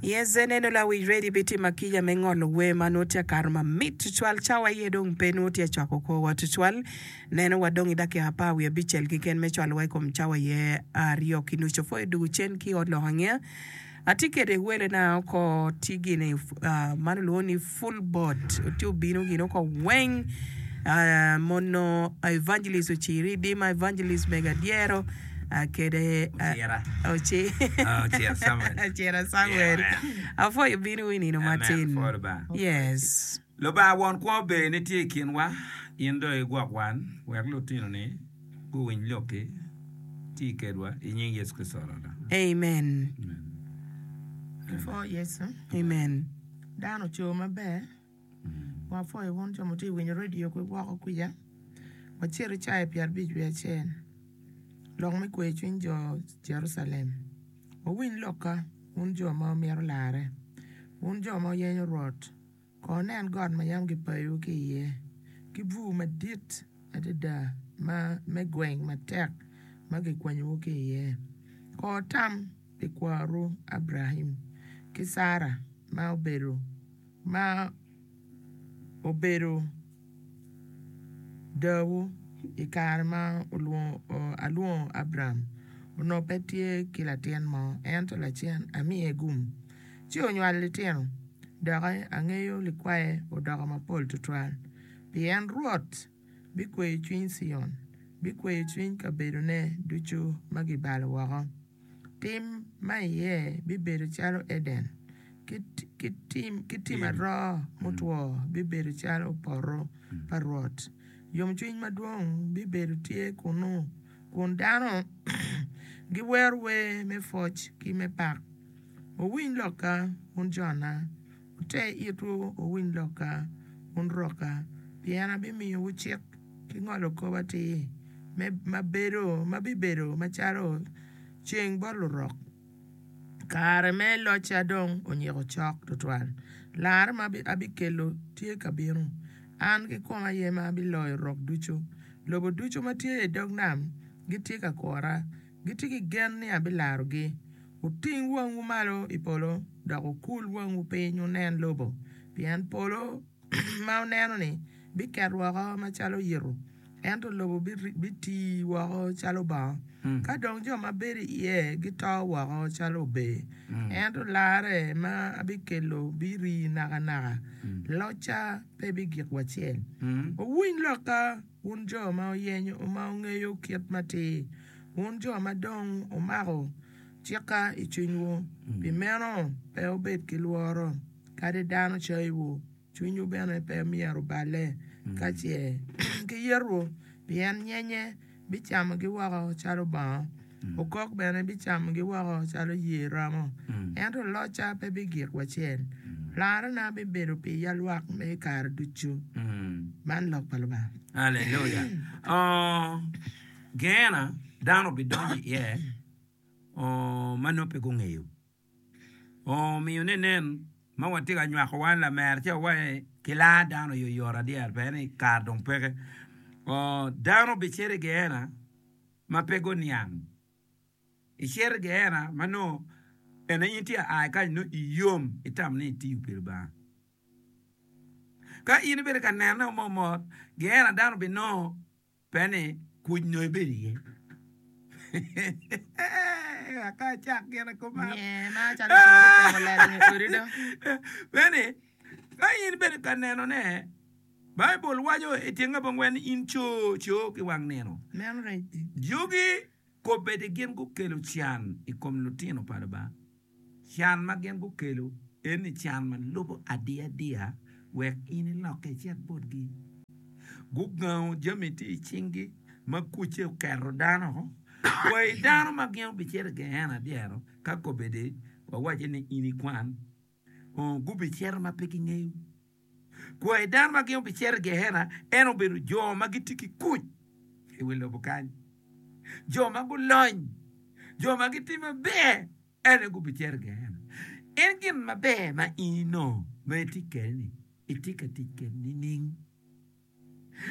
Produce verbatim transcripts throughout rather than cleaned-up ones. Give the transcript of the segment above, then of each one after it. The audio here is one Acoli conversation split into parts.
Yes, eneno lawic ready bitimo akica me ngolo wer ma nongo tye akato mamit tutwal cawa iye dong pe nongo tye acwako korwa tutwal neno wa dong i dakika apar wiye abicel keken me cwalowa i kom cawa iye aryo ki nucu pwoyo dugu cen ki ot lok angeya atye kede welena oko tye gini uh, man olwongo ni full board tye obino gini oko weng uh, mono evangelist ociri dima evangelist mega dyero uh, kede uh, Ocira. oci Ah, Ocira Samuel. Ocira Samuel Yeah. apwoyo bino i nino Amen. matin Pwoyo Lubanga. yes Lubanga won kwo ber ni tye i kinwa, in dong igwok wan, wek lutinoni guwiny lokki, ti kedwa i nying Yecu Kricito Rwotwa. amen Amen. Ipwo Yecu. amen Dano oco maber. Wapwoyo wun jo ma tye winyo radio ki woko kwica. Wacito i pyera abic wiye acel. Lok me kwe cwiny jo Jerucalem. Wuwiny lokka, wun jo ma wumito larre. Wun jo ma wuyenyo Rwot. Ko wunen got ma yam gipayowu ki iye, ki bur madit adada ma me gweng matek ma gikwanyowu ki iye. Ko wutam pi kwaru Abraim ki Cara ma obedo ma obedo dawu i kare ma olwongo alwongo Abram onongo pe tye ki latin mo ento lacen amiye gum ci onywalo litino doki angeyo likwaye odoko mapol tutwal pien Rwot bikweyo cwiny Cion bikweyo cwiny kabedone ducu ma gibalo woko tim ma iye bibedo calo Eden ki, ki, tim, ki tim aroo mutwo bibedo calo poto pa Rwot yomcwiny madwong bibedo tye kunu kun dano giwero wer me pwoc ki me pak wuwiny lokka wun jona wute itwu wuwiny lokka wun rokka pien abimiyowu cik ki ngolo kop atir me, ma, bedo, ma bibedo macalo ceng bot lurok kare me locca dong onyiko cok tutwal larre ma abikelo tye ka bino an kikoma aye ma abiloyo rok ducu lobo ducu ma tye i dog nam gitye ka kura gitye ki gen ni abilarogi wuting wangwu malo i polo dok wukul wangwu piny wunen lobo pien polo ma wuneno-ni biket woko macalo yito ento lobo biti woko calo bongo ka dong jo ma bedo iye gito woko calo ober ento larre ma abikelo biri nakanaka locca pe bigik wacel wuwiny lokka wun jo ma oyenyo ma wungeyo kit matir wun jo ma dong wumako cikka i cwinywu pi meno pe wubed ki lworo kadi dano cayiwu cwinywu bene pe myero oballe ka ce giyetowu pien nyenye bicamogi woko calo bongo okok bene bicamogi woko calo yer romo ento locca pe bigik wacel larrena bibedo pi yalwak me kare ducu man lok pa Lubanga Hallelujah. Oh, Geena dano bidonyo iye oh, ma nongo pe gungeyo. Oh, omiyo ne nen ma watye ka nywako wan lamer ci awaci ki lar dano yoyot adyer pe ni kare dong peke. Oh, dano bicito i Geena ma pe guniang. Icito i Geena ma nongo ene in tye a kany nongo iyom itamo ni itiyo pi Lubanga. Ka in ibedo ka nene mot Geena dano binongo pe ni kuc nongo ibedo iye. Ka acak gire kuman. Nye ma calo cwari temo lelo nge odi do. Pe ni ka in ibedo ka nenone Baibul waco i tyeng abongwen ni in co co ki wang nino. Meno rec. Jogi kobedi gin gukelo can i kom lutino pa Lubanga. Can ma gin gukelo en ni can ma lubo adiya adiya wek in ilokke icit botgi. Gugango jami tye i cinggi ma kucce oketo dano. Kwai dano ma gin obicito i Geena dyero ka kobedi wawaco ni in ikwan gubicito ma pe gingeyo. Kwai dano ma gin obicito i Geena en obedo jo ma gitye ki kuc i wi lobo kany. Jo ma gulony, jo ma gitye maber en aye gubicito i Geena. En gin maber ma in inongo ma itye kwede-ni itye ka tic kwede nining?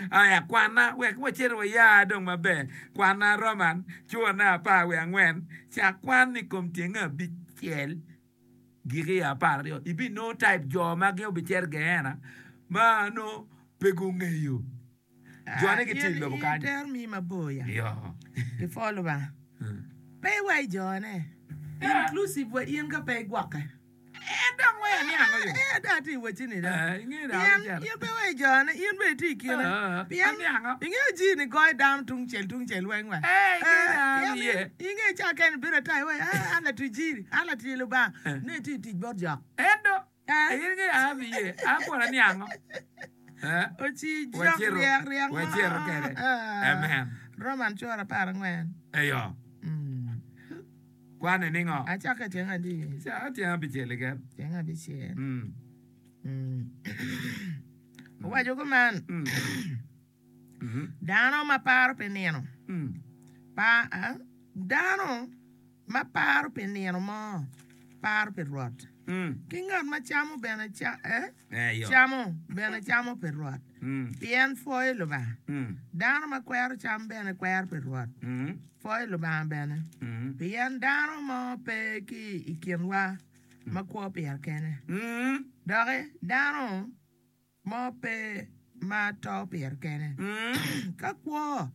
Aya kwana wek wacit waya dong maber. Kwana Roman curane apar wiye angwen cak kwan i kom tyenge abicel Giki apar aryo ibinongo type jo ma gin obicito i Geena ma nongo pe gungeyo jone gitye i lobo kany. Itero miyi mabor ya. Iyo. Kipwo Lubanga. Pe iwa i jone. Inclusive wa in ka pe igwokke. En dong wee aniango yo. Eh, ada atye i wacci ni dong. Eh, ingeyo dong Pien abicito. in pe iwa i jone, in bene itye i kine. Eh, Pien aniango. ingeyo jii ni goyo dano tung cel tung cel weng wa. Eh, ingeyo Eh, dong pien iye. ingeyo ca kene ibedo ata iwaci, ah, an latic jiri, an latic Lubanga. Eh. Ne itye i tic bot jok. En dong, Eh. in ingeyo an abiye, an kwon aniango. Eh, Oci jok wacito, ryek ryek mo. wacito kede. Ah. Amen. Roman cura apar angwen. Eyo, Mm. kwane ningo? Acake tyeng adi? Ca tyeng abicel keken. Tyeng abicel. Mm. Mm. Owaco kuman, Mm. Mhm. dano ma paro pi nino Mm. pa, ah, dano ma paro pi nino mo paro pi Rwot. Mm. Ki ngat ma camo bene ca, eh? Eyo. camo bene camo pi Rwot. Mm. Pien pwoyo Lubanga. Mm. Dano ma kwero cam bene kwero pi Rwot. Mm. Pwoyo Lubanga bene. Mm. Pien dano mo pe ki i kinwa ma kwo pire kene. Mm. Doki dano mo pe ma to pire kene. Mm. Ka kwo,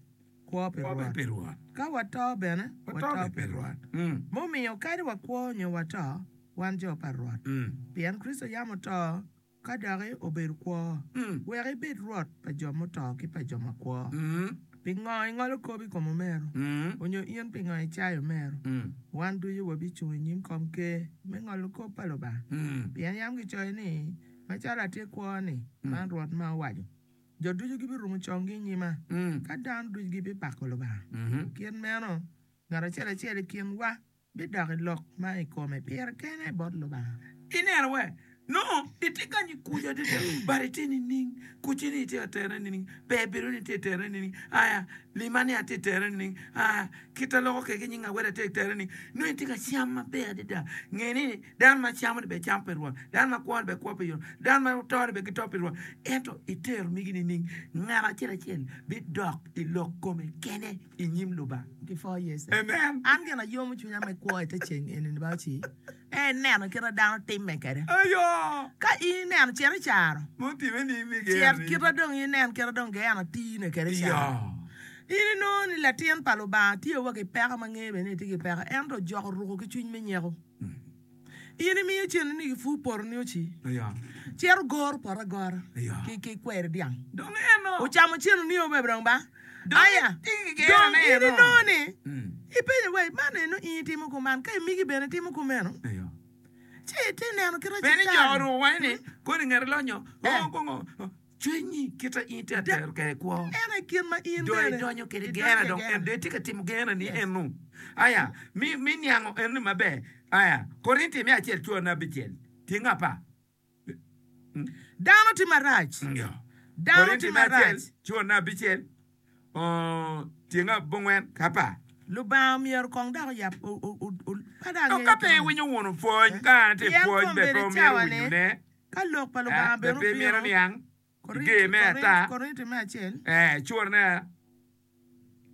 kwo pi Kwo Rwot. pi Rwot. Ka wato bene, Wato wato be pi pi Rwot. Rwot. Mm. Mumiyo kadi wakwo nyo wato, wan jo pa Rwot. Mm. Pien Kricito yam oto, ka doki obedo kwo. Mm. Wek ibed Rwot pa jo muto ki pa jo makwo. Mm. Pingo ingolo kop i kom omero? Mm. Onyo in pingo icayo omero? Mm. Wan ducu wabicung i nyim kom ker me ngolo kop pa Lubanga. Mm. Pien yam gicoyo ni, macalo atye kwo-ni, man Rwot ma owaco. Jo ducu gibirumo conggi i nyima, Mm. ka dano ducu gibipako Lubanga. Mhm. Kit meno, ngat acel acel i kinwa bidok i lok ma i kome pire kene bot Lubanga. Ineno we? No, itye kany ikuco adada, but itye nining? Kuci ni itye ka tere nining? Ber bedo ni itye tere nining? Aya, lima ni atye tere nining? Aya, kita loko keke nying aweda atye tere nining? No itye ka cam maber adada. Nge ni dano ma camo ni be cam pi Rwot, dano ma kwo ni be kwo pi Rwot, dano ma oto ni be gito pi Rwot. Ento itero migi nining? Ngat acel acel bidok i lok kome kene i nyim Lubanga. Ki four years. Amen. An gin ayomo cwinya me kwo i te ceng eni ni ba oci. En neno kite dano timme kede. Ayo! Ka in ineno cito i caro, Mutime ni migi cet kite dong inen kite dong geena tine kede i caro. Iyo. In inongo ni latin pa Lubanga tye wa ki peko ma ngeye bene ni tye ki peko, ento joko ruko ki cwiny me nyeko. In imiyo cen ni gipu poto ni oci, Iyo. cito goro poto agora Iyo. ki ki kweri dyang. Dong eno. Ocamo cen ni obe dong ba? Dong Aya, itye ki gera dong ne in eno. inongo ni Mm. ipenyo wai man eno in itimo kuman ka imigi bene timo kumeno Iyo. ci ite neno kite Bene citan. jo oruko wai ni koni ngete lonyo. Eh. Oh, kongo. Cwinyi kita in te atero kede kwo. En aye kit ma in Dong bene idonyo kede idonyo gera dong gera. en dong itye ka timo gera ni eno. Aya, mi mi niango eno ni maber. Aya, Korinti me acel cura na abicel. Tyeng apar. Dano tye marac. Iyo. Dano Korinti tye me acel marac. cura na abicel. Oh, tyeng abongwen ka apar. Lubanga myero kong dok oyab o- o- o- o- pa dong Dong ka pe angeyo iwinyo wunu pwony, ka an atye Pien pwony, be kombeddi pe omyero cawa-ni, winyone. Ka lok pa Eh, Lubanga be bene pe myero obino, niang. Korinti, Ige me Korinti, ata. Korinti me acel, Eh, curne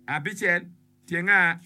abicel tyenga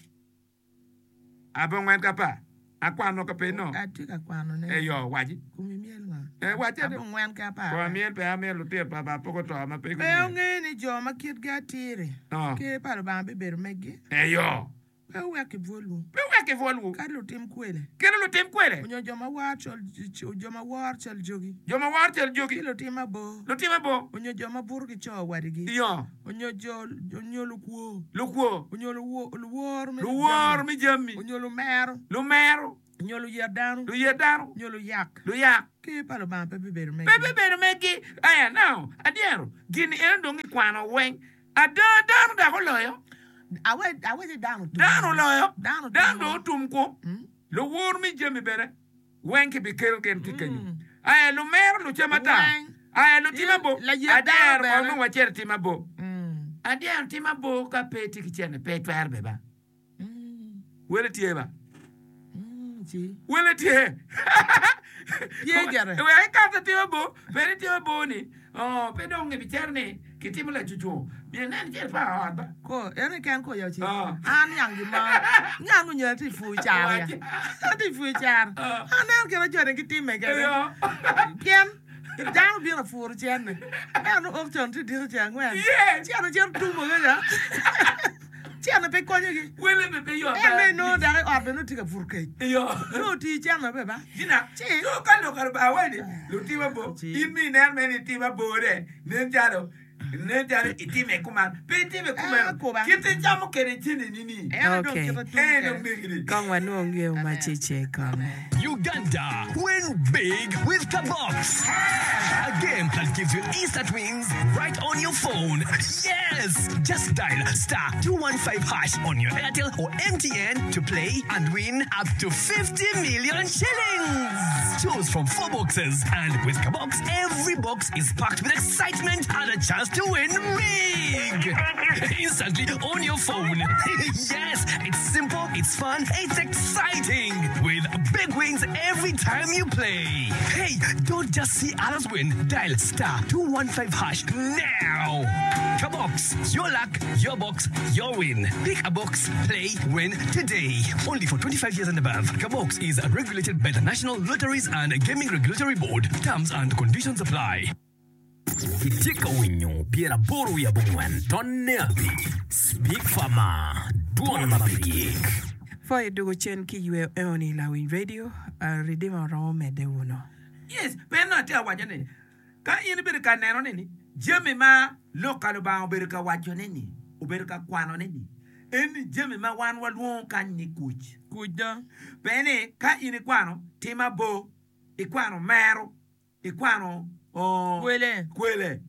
abongwen ka apar. Akwano ka pe no. atye ka kwanone. Eyo, waci. Kumi myel ngo? Eh, waci ade. Abongwen ki apar. Ko amiel pe amiel lutino pa ba pok oto ma pe Pe gumiel. ongeyo ni jo ma kitgi atir-ri, Oh. ker pa Lubanga bibedo megi. Eyo. Pe owek kibwolwu. Pe wek kibwolwu. Kadi lutim kwele. Kelo lutim kwele. Onyo jo ma war cal, jo ma wor cal jogi. Jo ma wor cal jogi. Ki lutim abor. Lutim abor. Onyo jo ma buto ki co wadigi. Iyo. Onyo jo, onyo lukwo. Lukwo. Onyo luwo, luwor me Luwor me jami. Onyo lumero. Lumero. Onyo luyet dano. Luyet dano. Onyo luyak. Luyak. Ker pa Lubanga pe bibedo megi. Pe bibedo megi. Aya, now, adyero, gin eno dong ikwano weng. Ada, dano dok oloyo. Awe, awe dano tum. Dano oloyo. Dano Dano tum. dong otum ku. Luwor me jami bene. Weng kibikelo gin ki kenyo. Aya, lumero lucem ata. Weng. Aya, lutim abo. Layet dano Adyero, bene. kono wacito tim abo. Mm. Adyero tim abo ka pe tye ki cene, pe itwero be ba. Mm. Wele tye ba. Mm, ci. Wele tye. Tye gire. Wek ikato tim abo, bene tim abo ni, oh, pe dong ibicero ni, Kitimo lacucu myero inen cel pa ot ba. Ko en keken ko ya ci. Ah. An yang gima. Ngang onyo ati fu car ya. Ati fu car. Aneno kit ma joni gitime kede. Pien dano bino puro cene. En ok con tye diko ceng angwen. Yes. Cen ocito tumo kede. Cene pe konyogi. Wele be pe yot. En bene nongo dako i ot bene nongo tye ka puro kec. Iyo. Nongo otiyo cene be ba. Gina, Ci. so ka lok Lubanga waco ni lutim abor, in mi inen mere ni itim abore, nen calo nen calo itime kuman, pe itime kumeno. Ah, kuba. Kit icamo kede cene-ni ni, En dong Okay. kite tum en dong kede. megi-ni. Kong wanwong yo Amen. macece kong. Uganda, win big with Kabox. A game that gives you instant wins right on your phone. Yes! Just dial star two one five hash on your Airtel or M T N to play and win up to fifty million shillings. Choose from four boxes, and with Kabox, every box is packed with excitement and a chance to win big. Instantly on your phone. Yes, it's simple, it's fun, it's exciting. With big wins every time you play. Hey, don't just see others win. Dial star two one five hash now. Kabox, your luck, your box, your win. Pick a box, play, win today. Only for twenty-five years and above. Kabox is regulated by the National Lotteries and Gaming Regulatory Board. Terms and conditions apply. Itye ka winyo pyeraboro wiye abongwen tonne abic Speak Farmer, dwon ma pe gik. Pwoyo dugo cen ki yweyo eoni Lawiny Radio, uh, Redeemer oromo medde wuno. Yes, pe nongo atye ka waco ni ka in ibedo ka neno ni ni jami ma lok ka Lubanga obedo ka wacone ni, obedo ka kwanone ni, en ni jami ma wan walwongo kany ni kuc. Kuc do. Pe ni ka in ikwano tim abor, ikwano mero, ikwano oh, Kwele. kwele,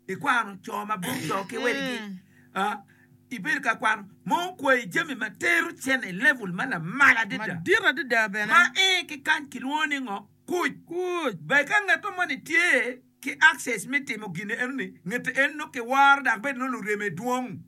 ikwano co ma buk co ki wedgi. Ah, ibedo ka kwano mo kwayi jami ma tero cene i level ma lamal adada. Madit adada bene. Ma en ki kany kilwongo ni ngo? Kuc. Kuc. Be ka ngeto moni tye ki access me timo gine eno ni, ngeto en no kiworo dok bed no lureme dwong.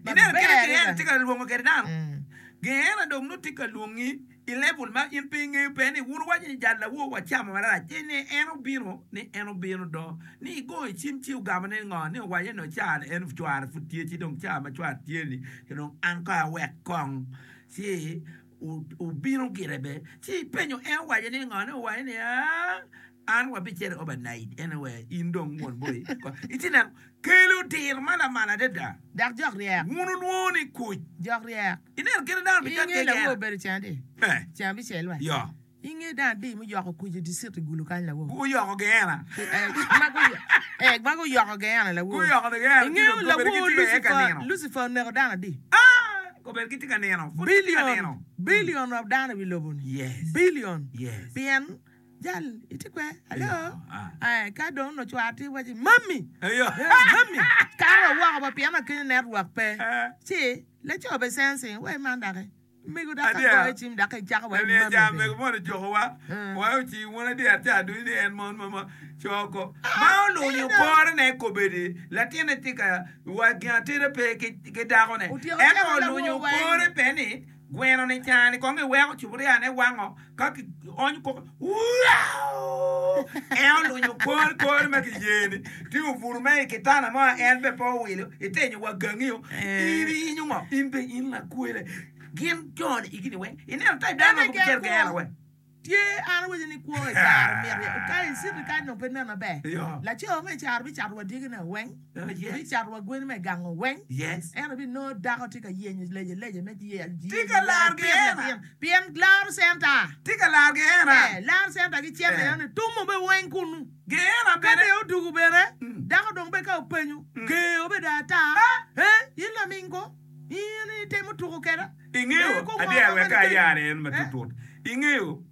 Ineno Maber kite Geena adada. tye ka lwongo kede dano. Mm. Geena dong no tye ka lwongi i level ma in pe ingeyo pe ni wun waco ni jal lawo wacamo marac. Ci ni en obino, ni en obino do. Ni igo i cim ci ogamo ni ngo, ni owaco ni ca ni en cware pud tye, ci dong ca ma cware tye ni, ci dong an ka awek kong. Ci o-, obino gire be. Ci ipenyo en owaco ni ngo, ni owaco ni, ah, an wabicito overnight. Anyway, in dong won boy. Iti neno, kelo diro ma lamal adada. Dok jok ryek. Wun ulwongo ni kuc. Jok ryek. Ineno kite dano bicat Inge lawo keken. obedo cen adi? Eh. Cen abicel wa. Yo. Inge dano adi muyoko kuc i district i Gulu kany lawo? Guyoko Geena. Eh, ma guyo-, eh, ma guyoko Geena lawo. Guyoko Geena, Inge ci dong lawo kobedi gitye ka Lucifer, nino. Lucifer oneko dano adi? Ah, kobedi gitye ka nino. Pud gitye ka Billion. nino. Billion of dano i wi lobo ni. Yes. Billion. Yes. Pien jal itye kwe. Hello. Yo, ah. Eh, ka dong no cwar tye waci, Mami. Eyo. Eh, mami. Karo woko ba pien akenyo network pe. Eh. Ci, laco be sensing, wai man dake. Mego dake Adier. goyo cim dake icako wai Ani mami aja be. mego mono jokowa. Eh. Wa oci wun adier ca duny ni en mon ma ma coko. Ah, Ma olunyo eh, no. kore ne kobedi. Latine tye ka wa gin atera pe ki, ki dakone. Otyeko Ento cako lawo olunyo weng. kore pe ni gweno ni cani kong iweko cupuria ne wango ka ki onyo koko. Wow! En olunyo kore kore ma ki yeni. Ti oburu me i kitanda mo en be pe owilo. Itenyo wa gangio. Eh. In inyo ngo? In be in lakwele. Gin joni igini weng. Ineno type dano ma Ene gubicer gen Geena kwo. weng. Tye an awaco ni kwo i caro mito. Ka i city kany dong pe nen maber. Yo. Laco me caro bicato wa dyegine weng. Oh, yes. Bicato wa gweni me gango weng. Yes. En obinongo dako tye ka yenyo leje leje me ye, Tye ka laro Geena. Pien laro center. Tye ka laro Geena. Eh, laro center ki cente Eh. ene tumo be weng kunu. Geena Ka bene. be odugu bene, Mm. dako dong be ka openyo, Mm. geo be da ata. Ah. Eh, in lamingo, in itemo tuko keda. Ing'eyo, Eh, ko adier ng'o wek ma ka ayare en Eh? matutut. Ing'eyo,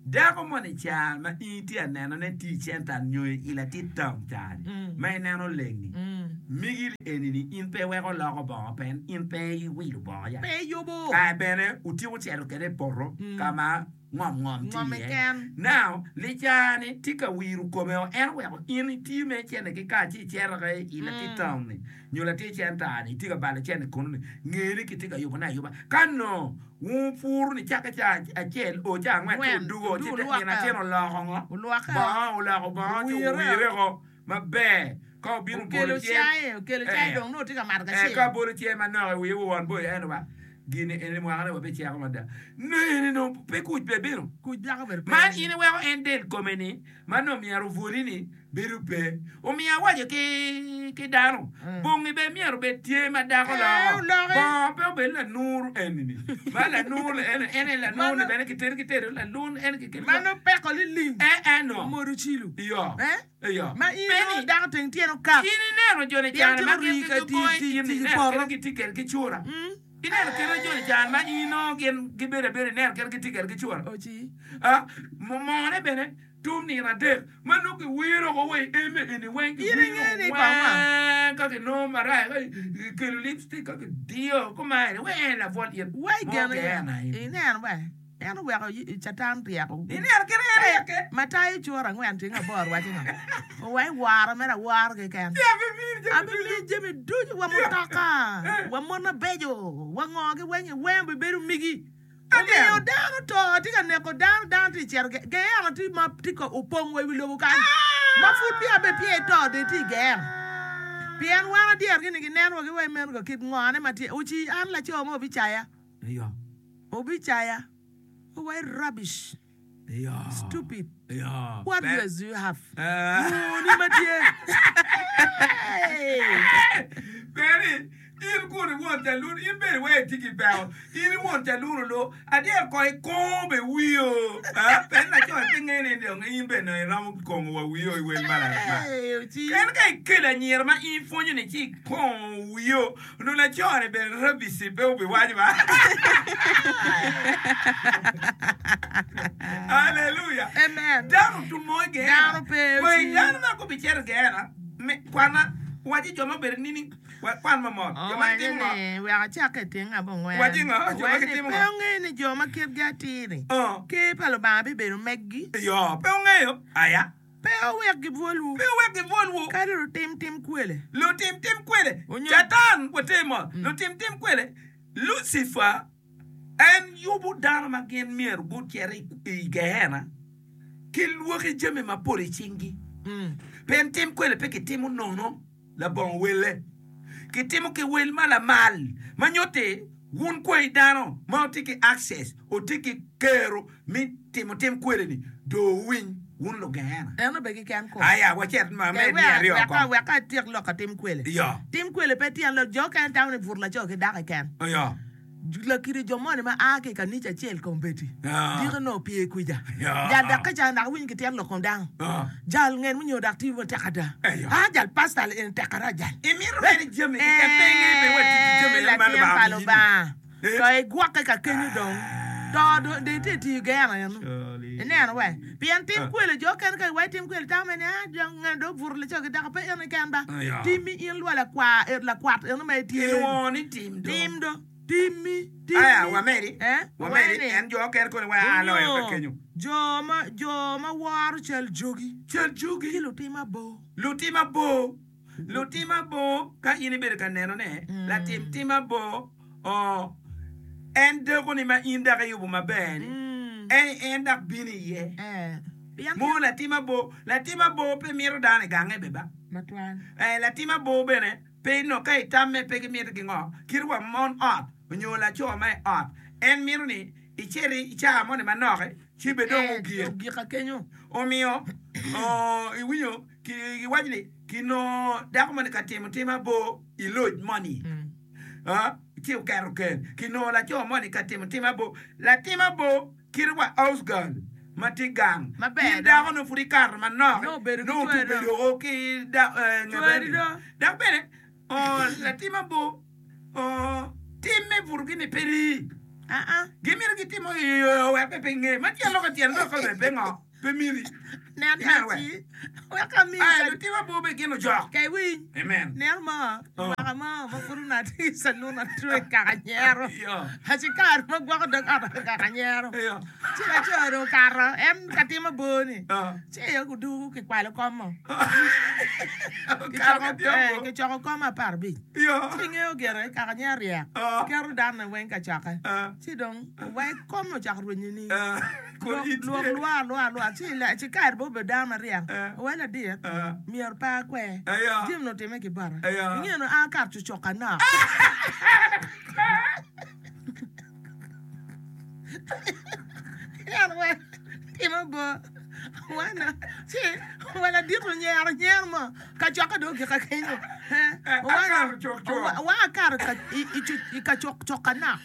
dako moni ca ma in itye ka neno ne tye i center nyo i latit town ca-ni, Mm. ma ineno leng-ni. Mm. Migi eni ni in pe iweko loko bongo pen, in pe iwilo bongo ya. Pe yubo. Kae bene otyeko cito kede i poto Mm. ka ma ngom ngom tye Ngom iye. keken. Now, licani tye ka wiro kome o, en oweko in itiyo me cene ki ka ci icito ka i latit Mm. town ni, nyo latit center ni, itye ka balo cene kunu ni, ngeni ni kitye ka yubone ayuba. Ka no, wun puru ni cake ca acel o ca angwen ci Angwen, odugo, ci odugo te olwoke. nino acel oloko ngo? Olwoke. Bongo, oloko bongo, ci Owire. owire ko maber. Ka obino Okelo bolo cen. cae, okelo cae Eh. dong nongo tye ka mato Eh, kacel. ka bolo cen manok i wiye won boyo eno ba gini eni mwakane wa biceko mada. Nene no pe kuc pe bino. Kuc dako obedo pe. Man in iweko en del kome ni ma nongo myero obwoli ni bedo pe. Omiyo awaco ki ki dano bongi be myero obed tye ma dako Eh, loko. oloki. Bongo pe obed lanur eni ni. Ma lanur ni eni eni lanur ni bene kitedo kitedo lanur eni kiketo. Mano peko liling. Eh eh no. Omodo cilo. Iyo. Eh? Iyo. Ma in Pe nongo ni- dako teng tyene okak. In ineno joni Pien can ma tye gin ori ka gigoyo tic- tic- in tic ineno poto. kede gitye kwede ki cura. Ineno kede joni can ma in nongo gin gibedo abeda ineno kede gitye kwede ki cura. Oci. Ah, mone bene tum nino adek ma nongo kiwiro ko wa i eme eni weng In ingeyo ni kong ma? weng ka kinongo marac ka kikelo lipstick ka kidiyo kumaeni weng en labwol it Wai mo gene geena in. ineno ba en oweko yi- catan ryeko. Ineno kede en ryeke. Matayo cura angwen tyeng aboro waco ngo. Owai waro mere awara keken. Abimiyo jami ducu wa mutoka, wa mon mabeco, wa ngo ki weng weng obibedo migi. Omiyo dano to tye ka neko dano, dano tye cito ge- geena tye ma tye ka opong wa i wi lobo kany. Ma pud peya be peya ito de tye i geena. Pien wan adyer gini gineno wa ki wai meno ka kit ngone ma tye. Oci an laco mo obicaya, Iyo. obicaya. Owai rubbish, Iyo. stupid. Iyo. What Pe- years do you have? Eh. Muni ma tye. Hey! Beri, in kun iwon calun, in bene wai itye ki peko. In iwon calun olo, adyer ko ikongo be wiyo. Ah, pen laco pe ngeyo ni dong in bene iromo kongo wa wiyo i wel ma la- Hey, oci. En ka ikelo anyira ma in ipwonyo ni ci ikongo wiyo, onongo laco-ni bene rabisi pe obiwaco ba. Hallelujah. Amen. Dano tumo i Geena. Dano pe Wei, oci. dano ma gubicito i Geena, me- kwana, waci jo ma obedo nini, wa- kwan mamot. Jo ma Owaco gitimo ngo? ni wek acak i tyeng abongwen. Waci ngo? Jo ma Owaco ni gitimo pe ngo? ongeyo ni jo ma kitgi atir-ri. Oh. Ker pa Lubanga bibedo meggi. Yo, pe ongeyo. Aya. Pe owek gibwolwu. Pe owek gibwolwu. Kadi lutim tim kwele. Lutim tim kwele. Onyo- Catan watimo. Lutim tim kwele. Lucifer en yubo dano ma gin myero gucit i i Geena ki lwoki jami mapol i cinggi. Mm. Pien tim kwele pe kitimo nono labongo welle. Kitimo ki wel ma lamal ma nyutti wun kwai dano ma otye ki access otye ki kero mi timo tim kwele ni do wuwiny wun lugeena. En obe keken ko. Aya wacit ma Ke med ni wek- aryo wek- ko. Wek atyek lok atim kwele. Iyo. Tim kwele pe tyen lok jo okene tamo ni buto laco ki dako keken. Iyo. Lakiri jo moni ma a ki i kanica acel kombeddi. Ah. Diko nongo opye kwija. Ya. Jal dok ka ca dok winyo kityen lok kom dano. Ah. Jal ngen munyo dok tiyo matek ada. Eyo. Ah jal pastor en tek ada jal. Imito mere jami keken pe ingeyo be wa tic ki jami Eh, ma latin Lubanga pa omini. Lubanga. Eh. To igwokke ka kenyo dong. To do- dong itye tiyo geena eno. Ineno we. Pien tim Ah. kwele jo okene ka iwaci tim kwele tamo ni ah jang ngen dong obuto laco ki dako pe en keken ba. Ya. Timmi in lwa lakwar eh, lakwat eno ma itye. Kilwongo ni tim do. Tim do. Timmi. Timmi. Aya wamedi. Eh? Wamedi Wamedi. en jo okene koni wa aloyo ka kenyo. Jo ma jo ma woro cal jogi. Cal Ki jogi. lutim abor. Lutim abor. Lutim abor ka in ibedo ka nenone, latim tim abor oh, en deko ni ma in dok iyubo maber ni. Mm. En en dok bino iye. Eh. Pien Mo latim abor, latim abor pe mito dano i gange be ba. matwal. Eh, latim abor bene pe no ka itamme pe gimito ki ngo kit wa mon ot onyo laco ma i ot en mito ni icit i caa moni manok ci be dong Eh, ogik ogik akenyo. omiyo oh, iwinyo ki- kiwaco ni kinongo dako moni ka timo tim abor i loc moni Mm. Ah, ci oketo kel kinongo laco moni ka timo tim abor latim abor kit wa house girl ma tye gang Maber in do. dako no pud ikato manok Nongo obedo ki nongo cwari do. obedo o ki da- eh, Cwari ngabeni. do. dok bene oh, latim abor oh, tim me buto gini pe rii Ah ah. gimito gitimo iyo wek pe pe nge ma tyen lok tyen lok be pe ngo pe miri Nen Ineno we? aci. Wek ami. Ai, lutim abor be gin ojok Kay winy. amen Nen mo. Oh. Waka mo. Ma pud onongo atye i calun atye kaka nyero. Iyo. Aci kare ma gwoko dog ot kaka nyero. Iyo. Ci laco dong okato. En ka timo abor ni. Ah. Ci odugu kikwalo kom mo. Okato Kicoko ka tye eh, abor. kicoko kom apar abic. Iyo. Ci ingeyo gire kaka nyer ryek. Ah. Keto dano weng ka cokke. Ah. Ci dong wai kom ocako rwenyo ni. Ah, kun Lwok itye. lwok lwar lwar lwar ci la ci kare bo Obedo dano maryek. Eh. Owaco ladit, Eh. myero pe akwer. Eya. Jami ni otime ki bota. Eya. Ingeno an akato cucok anok. En we timo bo. Wana ci wa ladit onyero nyero mo kacokke dong ogika kenyo. Eh, Eh, wana- akato cok cok. wa- wa akato ka- i- i cu- i kacok cok anok.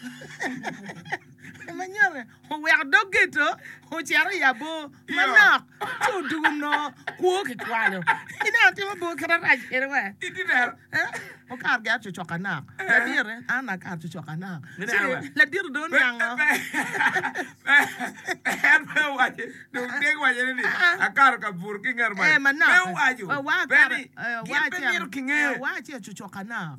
Ma nyero oweko dog geto ocito i abo manok ci odugo no kwo kikwalo. Ineno timo bo kite rac kede we. Iti neno. Eh, okato gin acucok anok. Ladit an akato cucok anok. Ci Ineno we. ladit dong oniango. En pe owaco, dong deg waco ni akato ka buto ki ngat Eh, manok. Pe owaco. Eh, wa Pe akato- ni, eh, gin wa pe acel- myero kinge. eh, wa acel cucok anok.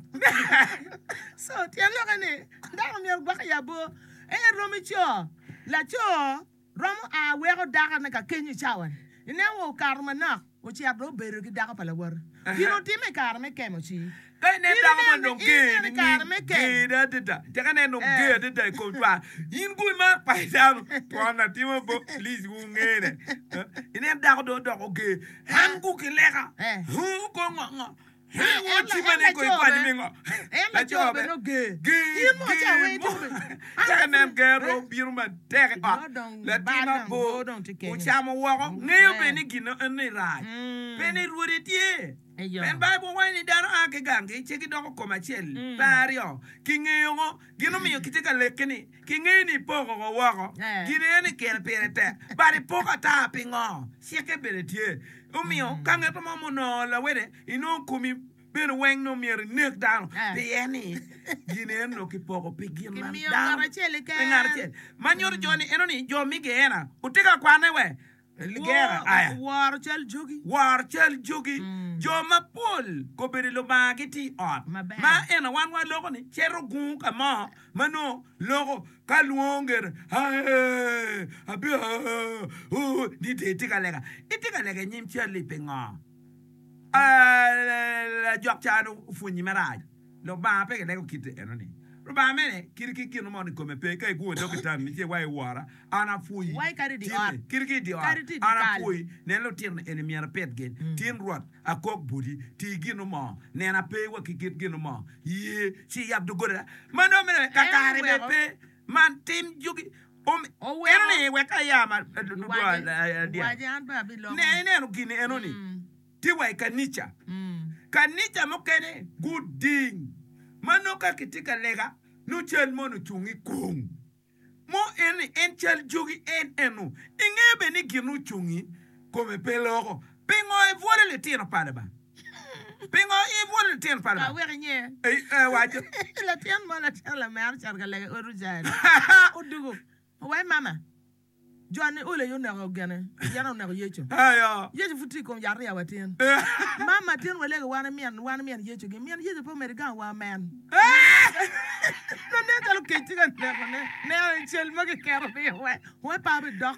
So, tyen lokke ni, dano myero gwok i abo. En romo ico. Laco romo a weko dakone ka kenyo i cawa-ni. Ineno wa okato manok, ocito dong obedo ki dako pa lawote. Gin otime i kare me kemo ci. Ka inen In dako ineno- man dong in ger ineno i kare me nining? kem. Ger adada. Caka inen dong Eh. ger adada i kom cwar. In gu imar pa dano. Twon atimo bo, please wungene. Eh, Inen dako dong odoko ger. An gu kileka. Eh. Hu ko ngo ngo. En Hu la- cima en ni ko laco ikwany be. mi ngo. En laco be no ger. Ger, In mo ca ger we mo. itube. Caka inen ger Eh. dong bino matek i ot. No dong Latin bal dong, mabor. bor dong tye kenyo. Ocamo woko. Ngeyo Eh. be ni gin eni rac. Mm. Pe ni rwode tye. Eyo. En Baibul waco ni dano a ki ganggi ci gidoko kom acel Mm. pe aryo kingeyo ngo gin omiyo kitye ka leke ni kingeyo ni ipoko ko woko Eh. gin eni kere pire tek but ipoko ata pingo cikke bene tye omiyo ka ngeto mo munongo lawede inongo komi bene weng nongo myero inek dano Eh. pien ni gin eno nongo kipoko pi gin ma Kimiyo dano ngat acel keken. pi ngat acel ma nyuto jo ni eno ni jo mi geena otye ka kwane we gera aya Woro cal jogi. woro cal jogi Mm. jo mapol kobedo lubanga gitye i ot Maber. ma eno wan waloko ni cito gungu ka mo ma nongo loko ka lwongo ngete "Ae, abi ah, oh," ni te itye ka lega itye ka lega i nyim cal-li pingo Ah, lajok ca opwonyi marac lubanga pe kilego kite eno ni lubanga mene kit ki gin mo ni kome pe ka iguo dog itan ni ce wa iwora an apwoyi Wai kadi di Tin- ot. kit ki di ot Kadi ti di an kal. apwoyi nen lutino eni myero apit gin tin rwot akok budi ti gino mo nen ape wa ki kit gino mo ye ci yab doggola ma nongo mene kakare be oweko. pe man tim jogi Om- Oweko. eno ni wek aya ma Wace wace an pe abiloko. ne ineno gini eno ni tye wa i kanica Mm. kanica mukene guding ma nongo ka kitye ka lega nongo cal moni ocung i kong mo en ni en cal jogi en eno ingeo bene ni gin ocungi kome pe loko pingo ibwolo litino pa Lubanga pingo ibwolo litino pa Ka Lubanga wek inye. Eh, eh, waco Latin mo latin lamera ocito ka lega i ot Ujari. Odugo. Owai mama. Jon ni olo aye oneko gene. Yen oneko Yecu. Ayo. Yecu pud tye i kom yat ariya wa tin. Mama tin walego wan mien wan mien Yecu gi mien Yecu pe omedo gang wa men. No nen calo kec tye ka neko ne. Neno cal ma kiketo piny we. We pa bidok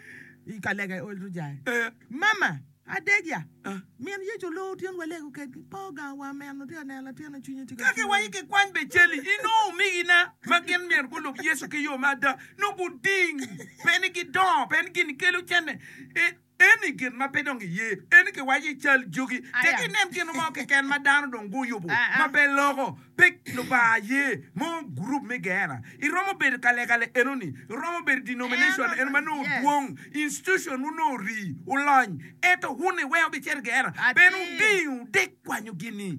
i ka lega i ot Ujari. Eh, Mama, adeg ya. Ah. Min Yecu oloo tin walego kedgi. Po gang wa men otye ka neno latin na cwinye tye ka ka kiwaco kikwany be cali inongo omigina ma gin myero gulub Yecu ki yo ma ada nongo guding pe ni gidongo pe ni gin kelo cene E- eni gin ma pe dong iye eni kiwaco i cal jogi tek Aya. inen gin mo keken ma dano dong guyubo Ah, ah. ma pe loko pe Lubanga ye mo gurup me geena iromo bedo ka lega enoni iromo bedo denomination Eno- eno ma nongo yes. dwong institution wu nongo rii ulony ento wun iweko bicito geena Atir. ben uding udek kwanyo gini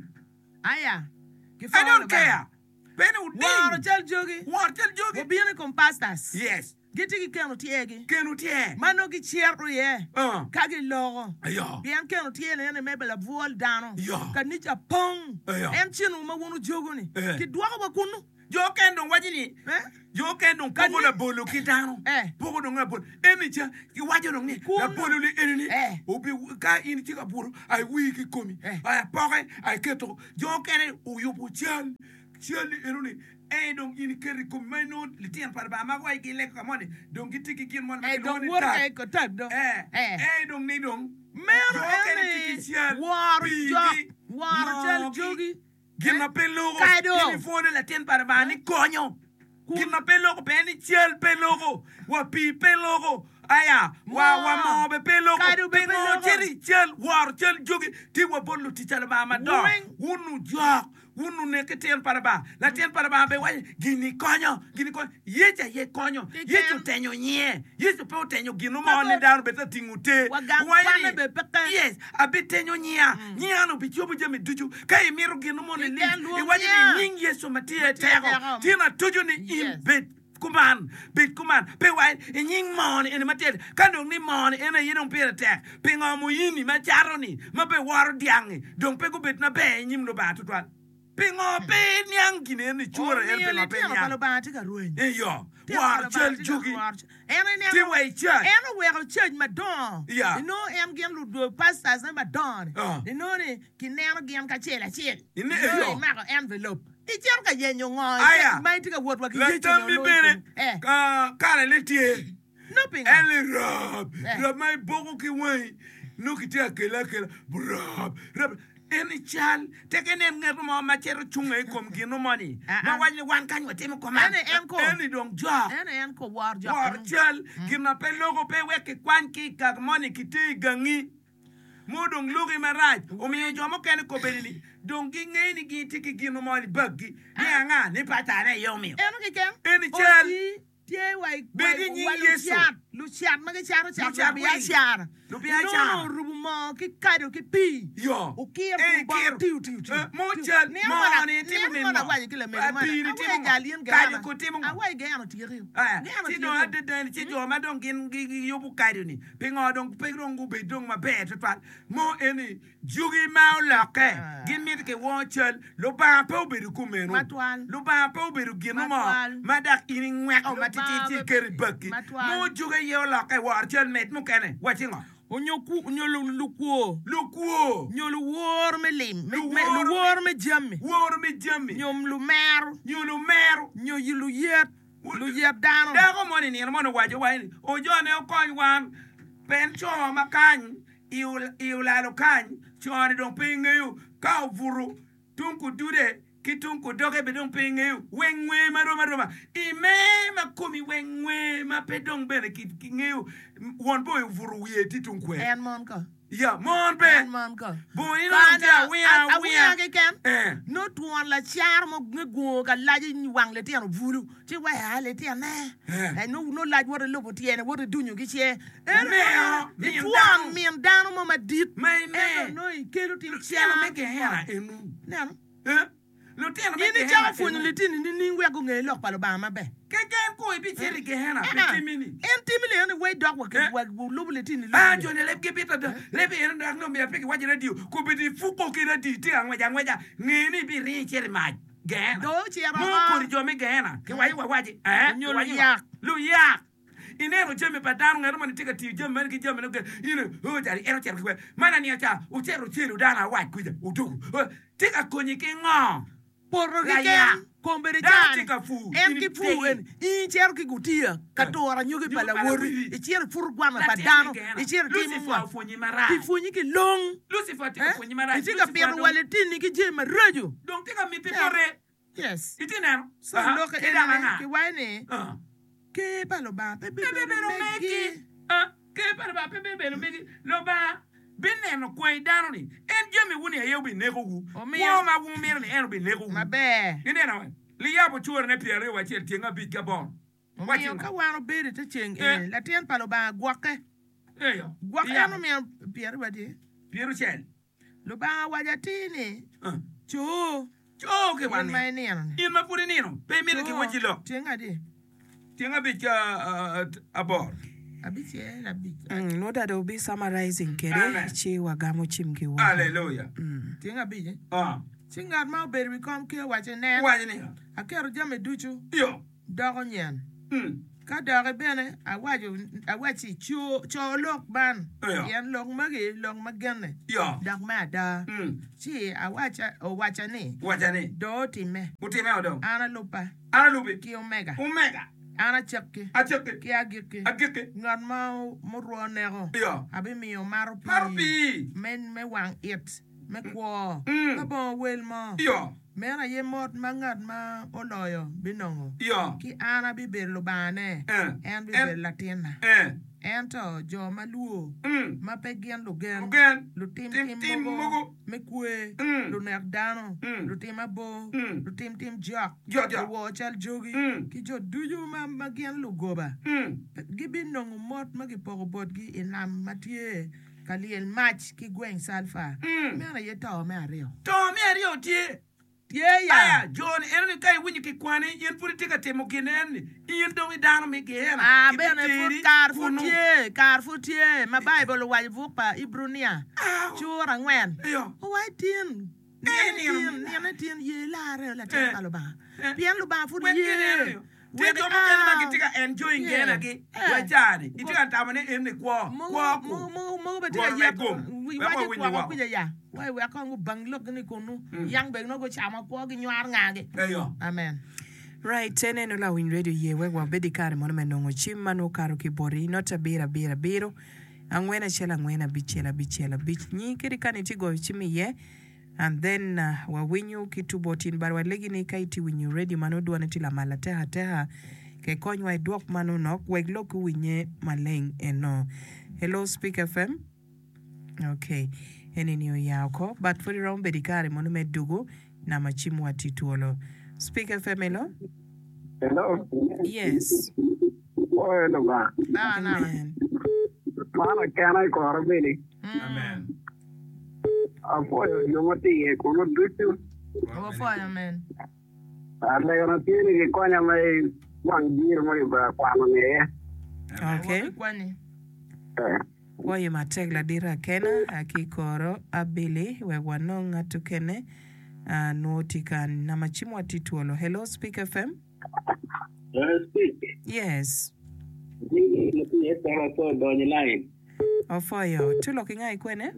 Aya. I don't care. Bene Woro uding. cal jogi. Woro cal jogi. Obino i kom pastors. Yes. Gitye ki keno tyegi. Keno tye. Ma nongo gicito iye. Uh. Ka giloko. Ayo. Pien keno tye ni ene me labwol dano. Yo. Kanica pong. Ayo. En cino ma wun ujogo-ni. Eh. Kidwoko wa kunu. Jo ken dong waco ni Eh? jo ken dong poko Kani- labolo ki dano. Eh. Poko dong labolo. Eni ca kiwaco dong ni Kun- labolo li eni ni Eh. obi ka in itye ka buto ai wii ki komi. Eh. Ai apoke ai keto. Jo kene oyubo cal. Cal ni eno ni eh dong in iketo i komi ma inongo litino pa Lubanga ma waci gileko ka moni dong gitye ki gin moni ma Eh, kilwongo dong ni woto tag. ka tag dong. Eh, Eh. eh, dong ni dong. Meno Jo kene tye eni ki cal, woro pigi, jok, woro cal moogi. jogi. Gin Eh? ma pe loko. Kado. Gin ipwonyo latin pa Lubanga ni konyo. Kun- Gin ma pe loko pe ni cal pe loko. Wa pii pe loko. Aya, wa wa Moo. moo be pe loko. Kado be pe Pingo loko. cito Eni cal woro cal jogi tye wa bot lutic pa Lubanga madongo. Weng. Wun ojok, wun onek tyen pa Lubanga. Latin pa Lubanga bene waco ni, gini konyo, gini konyo. Yecu aye konyo. Keken. Yecu otenyo nyinge. Yecu pe otenyo gin mo Pe ni be- dano bed ta tingo te. Wa gang Waco kwane ni, bene peke. Yes, abitenyo nyinga. Nyinga-ni obicobo jami ducu. Ka imito gin mo ni Keken lic, lwong iwaco nyinga. ni nying Yecu ma tye tye teko. teko. Tin atuco ni in Yes. bed kuman, bed kuman. Pe wa i nying moo-ni eni ma tye ka dong ni moo-ni en aye dong pire tek. Pingo muyini ma cato-ni ma pe woro dyang-ngi dong pe gubed maber i nyim Lubanga tutwal? Pingo pe niang gin en ni cura en Omiyo pingo pe litino pa niang? Lubanga tye ka rweny. Eyo, Litino pa woro Lubanga cal tye ka jogi. woro cal. En ineno- Tye wa i church. En oweko church madongo. Yeah. Inongo en gin lu pastors ne madongo ni. Ah. Inongo ni kineno gin kacel acel. Ine- Inongo eyo. imako envelope. Icito ka yenyo ngo Aya. ma itye ka wot wa ki Yecu ni Latambi oloyo bene komi. Eh, ka kare le tye. no pingo. En li rab, Eh. rab ma iboko ki wangi, nongo kitye akela akela, rab, rab. En i cal, tek inen nget mo ma cito cunge i kom gin mo ni, Ah, ma ah. waco ni wan kany watimo kuman. Ene en ko. En i dong jok. En en ko wor jok. Wor cal, gin ma pe loko pe wek kikwany ki i kak moni kiter i gangi. Mo dong loki marac, omiyo jo mukene kobedi ni, dong gingeyo ni gitye ki gin mo ni baggi, ni anga, ni pacane aye omiyo. En keken. En i cal. Oti tye wa i Bed i nying wa Yecu. lucat, lucat ma gicato cat Lucat wil. lubiacara. Lubiacara. Inongo orubo moo ki kado ki pii. Yo. Okiro Eh, kun bongo kiro. tiyo tiyo tiyo. Eh, mo Tiyo. cal, Nino mo mana- ni timo nino min mana mo. awaco ki lamego Ah, mana, pii ni awaco timo ngo? jal in Kado Gehena. ko timo ngo? Awaco Gehena otyeki. Eh, Gehena ci dong otyeki. adada ci jo ma dong gin gi- giyubo kado ni pingo dong pe dong gubed dong maber tutwal mo eni jugi ma olokke Ah. gin mito kiwor cal Lubanga pe obedo kumeno Matwal. Lubanga pe obedo gin mo Matwal. ma dok in ingweko matitidi ci Lubanga iketo i pe- bakki Matwal. mo jugi aye olokke wor cal med mukene waci ngo Onyo ku- onyo lu- lukwo. lukwo Nyo luwor me lim. Me- me- Luwor- Luwor me jami. woro me jami Nyo lumero. nyo lumero Nyo luyet. Luyet dano. Dako moni nino moni owaco wa ni ojone okony wan pen co ma kany i ul- i olalo kany co-ni dong pe ingeyo ka obuto tung kudude ki tung kudoge be dong pe ingeyo weng ngwe marom aroma i me ma komi weng ngwe ma pe dong bene ki ki ngeyo won boy obuto wiye tye tung kwe En mon ko. ya mon be En mon ko. boni nongo tye awinga Awiya awinga keken. Eh. No twon lacar mo nge gungo ka lac i wang litino bulu ci waya litine. Eh. Eh, no no lac woto ilubo tyene woto idunyo ki ce. En Meo, min itwon dano. min dano mo madit. Ma ime. Ento no ikelo tim Lutino me car. Gehena enu Neno. Eh? Lutino me In Gehena icako pwonyo enu. litini nining wek gunge lok pa Lubanga maber. Keken ko ibicito i Gehena Eh, pe ah. timini En timi leno ni wei dok wa Eh. wa lubo litini Ah, lubo. joni leb gibito do. Leb en dok no miya pe kiwaco radio. Kobedo ifuko ki radio tye ka ngwec angweca. Nge ni ibiringo icito i mac. Gehena. Dong ocito Mo oko. kodi jo me Gehena. Kiwaco wawaci. Eh? Onyo Kiwaco luyak. Luyak. Ineno jami pa dano ngat moni tye ka tiyo jami meno ki jami meno in oh jali en ocito ki kwe. Man aniang ca ocito ocelo dano awac kuca odugu. Oh, Tye ka konyi ki ngo? Poto Layak. keken kombeddi Dano cani. tye ka pur. En In ki pur itegi. en in icito ki gutiya ka turo anyogi pa Anyogi pa lawoti lawoti. icito ipuro gwana pa Latin dano me Gehena. icito itimo Lucifer ngo opwonyi marac. Kipwonyi ki long Lucifer tye ka Eh? pwonyi marac. Itye ka Lucifer pito dong- wa litini ki jami maraco. Dong tye ka miti Yeah. bote. Yes. Itye neno? So Aha. lok Ki dok enene anga? kiwaco ni Ah. ker pa Lubanga pe Pe bibedo bibedo megi. megi. Ah, Ker pa Lubanga pe bibedo megi. Lubanga bineno kwai dano ni en jami wuni aye obinekowu. Omiyo- Kwo ma wumito ni en obinekowu. Maber. Ineno we? Liyabo curane pyeraryo wa acel tyeng abic ki aboro. Waci Omiyo ngo? ka wan obedo i te ceng Eh. eni latin pa Lubanga gwokke. Eyo. Gwokke en Liyabo. omiyo pyeraryo wa tye. Pyeraucel. Lubanga owaco atir ni Ah. co Co ki in wan ma ni. inino ni. In ma pud inino pe imito kiwaci lok. Tyeng adi? Tyeng abic ki ah, ah, aboro. Abicel abic. Mm, no that will be summarizing kede Amen. ci wagamo cim ki woko. Hallelujah. Tyeng abic. eh? Ah. Ci ngat ma obedo i wi kom ker owaco nen Waco ni. aketo jami ducu Yo. doko nyen. Mm. Ka doki bene awaco awaci co co lok man Eyo. pien lok magi lok ma genne Yo. dok me ada. Mm. Ci awaca owaca ni Waca ni. do otimme Utime odong. an aluba An alubi. ki omega Omega. an acakki Acakki. ki agikki Agikki. ngat ma murwo neko Yo. abimiyo mato Mato pii pii. me me wang it me kwo Mm. ka bongo wel mo Yo. meno aye mot ma ngat ma oloyo binongo Yo. ki an abibedo lubangane Eh. en bibedo latinna Eh. Ento jo ma lwor, Mm. ma pe gin lugen, Lugen, lutim tim tim tim mogo mogo, me kwer, Mm. lunek dano, Mm. lutim abor, Mm. lutim tim jok, Jok jok. luwor cal jogi, Mm. ki jo ducu ma, ma gin lugoba, Mm. gibinongo mot ma gipoko botgi i nam ma tye ka lyel mac ki gweng calfa. Mm. Meno aye to me aryo. To me aryo tye. Tye ya. Aya, jo-ni eno-ni ka iwinyo kikwani, in pud itye ka timo gin en-ni, in dong i dano me Geena, Ah, bene pud kibiteri kar pud kunnu. tye, kar pud tye ma Baibul owaco i buk pa Ibrunia, Ah, cura angwen. Iyo. Owaco tin, Eh, nine nino tin, me nine tin, ye larre latin Eh. pa Lubanga. Eh. Pien Lubanga pud Wek ye. gin eno-ni. Tye Wek jo mukene ma ah, gitye ka enjoying yeah. Geena-gi, Eh. wa ca-ni, itye ka tamo ni en-ni kwo, Mogo kwo ku. mogo mogo mogo bene tye ka Rwot me yet gum. wi Wek waco wawiny kwoko woko. kwica ya. Wai wek kong gubang lokgi ni kunu. Yang bene nongo gucamo kwo ginywaro ngagi. Eyo. Amen. Right, en eno lawiny radio ye wek wabed i kare mono me nongo cim ma nongo okato ki boti not abiro abiro abiro angwen acel angwen abicel abicel abic nyi kadi kani itye goyo cim iye and then uh, wawinyo ki tu bot in but walegi ni ka itye winyo radio ma nongo dwone tye lamal ateka ateka ke konywa idwok ma nongo nok wek lok owinye maleng eno. Hello Speak F M. Okay, eni ni oya oko but pud iromo bedo i kare mono me dugu nama cim wa tye twolo. Speak F M, hello. Hello. Yes. Oyo Lubanga. Nawa nawa. Amen. Mano kena i kora bene. Amen. Apwoyo jo ma tye iye kunu ducu. Wapwoyo amen. Alegana tye ni gikonya me wang jiri ma kibedo kwano ni iye. Okay. Wabikwanyi. Eh. Woyo matek ladit akena ki koro abili wek wanong ngat okene uh, nwo tye ka nama cim wa tye twolo. Hello Speak F M. Eh, speak. Yes. Jiri ma tye iye kora so donyo line. Ofoyo. Tulo ki nga ikwene?